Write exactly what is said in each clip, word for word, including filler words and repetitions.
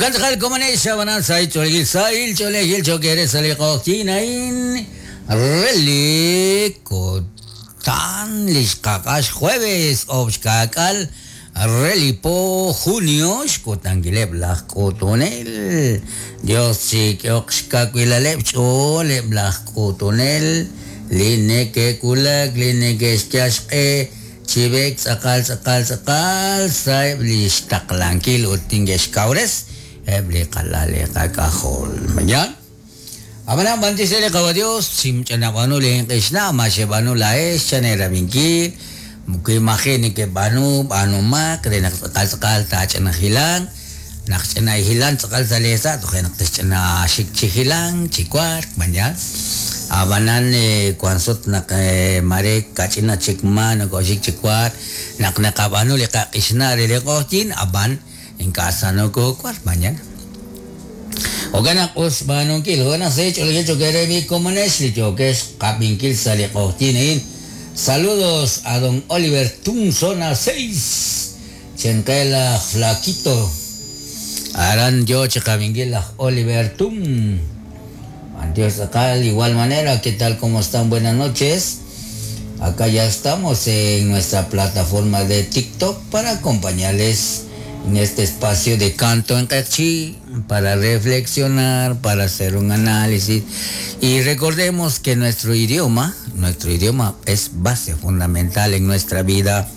Okan tz'aqal komonex xab'anan sahil ch'oolejil sahil ch'oolejil cho'q eere sa' li q'oqyink a'in re li kutan li xqaq'ax jueves oob' xkaak'al re li po junio xkutankileb' laj k'utunel. Dios chik'ehoq xkawilaleb' xch'ooleb' laj k'utunel li neke'wulak li neke'xyal xq'e chi b'eek tz'aqal tz'aqal tz'aqal sa'eb' li xtaqlankil ut neke'xkawres eb' li qalal li qak'ajol. Mañana. Ab'anan b'antiox re li Qawa Dios chimch'anab'anu li inq'ixna' ma xeb'anu laa'ex chanerab'inkil wi maji' nekeb'aanu b'aanumaq re naq tz'aqal tz'aqal taach'ina hilank naq ch'ina hilank tz'aqal sa' leesa' toje' naq texch'ina xik chi hilank chi wark mañana. Ab'anan wan sut naq mare kach'ina chik ma nokoxik chi wark naq naqab'aanu li qaq'ixna' re li q'oqyink ab'an ink'a' sa nokowark mañana. Jo'kan naq us b'aanunkil jo'kan naq sahil ch'oolejil cho'q eere mi komonex li yookex qab'inkil sa' li q'oqyink a'in. Saludos a don Oliver Tum, zona seis. Chenqe laj Flaquito. Aran yo chi qab'inkil laj Oliver Tum. Dios acá, de igual manera, ¿qué tal? ¿Cómo están? Buenas noches. Acá ya estamos en nuestra plataforma de TikTok para acompañarles en este espacio de canto en Q'eqchi, para reflexionar, para hacer un análisis. Y recordemos que nuestro idioma, nuestro idioma es base fundamental en nuestra vida,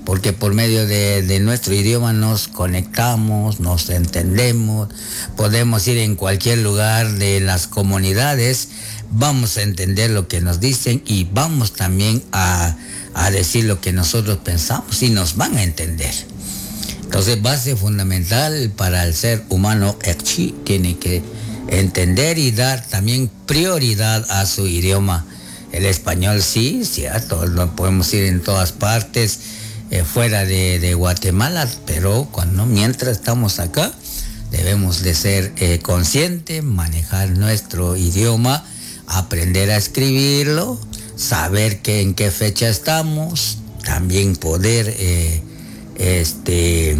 porque por medio de, de nuestro idioma nos conectamos, nos entendemos, podemos ir en cualquier lugar de las comunidades, vamos a entender lo que nos dicen y vamos también a, a decir lo que nosotros pensamos y nos van a entender. Entonces, base fundamental para el ser humano Q'eqchi tiene que entender y dar también prioridad a su idioma. El español sí, cierto, lo podemos ir en todas partes, eh, fuera de, de Guatemala, pero cuando mientras estamos acá, debemos de ser eh, conscientes, manejar nuestro idioma, aprender a escribirlo, saber que en qué fecha estamos, también poder eh, este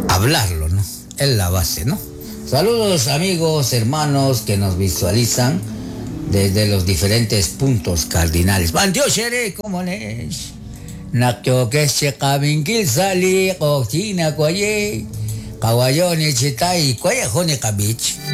hablarlo, ¿no? Es la base, ¿no? Saludos amigos, hermanos que nos visualizan desde los diferentes puntos cardinales. B'antiox eere, ¿cómo es? Naq yookex chi qab'inkil sa' li q'oqyink waye qawayoni chitay kwaye joni qab'ich.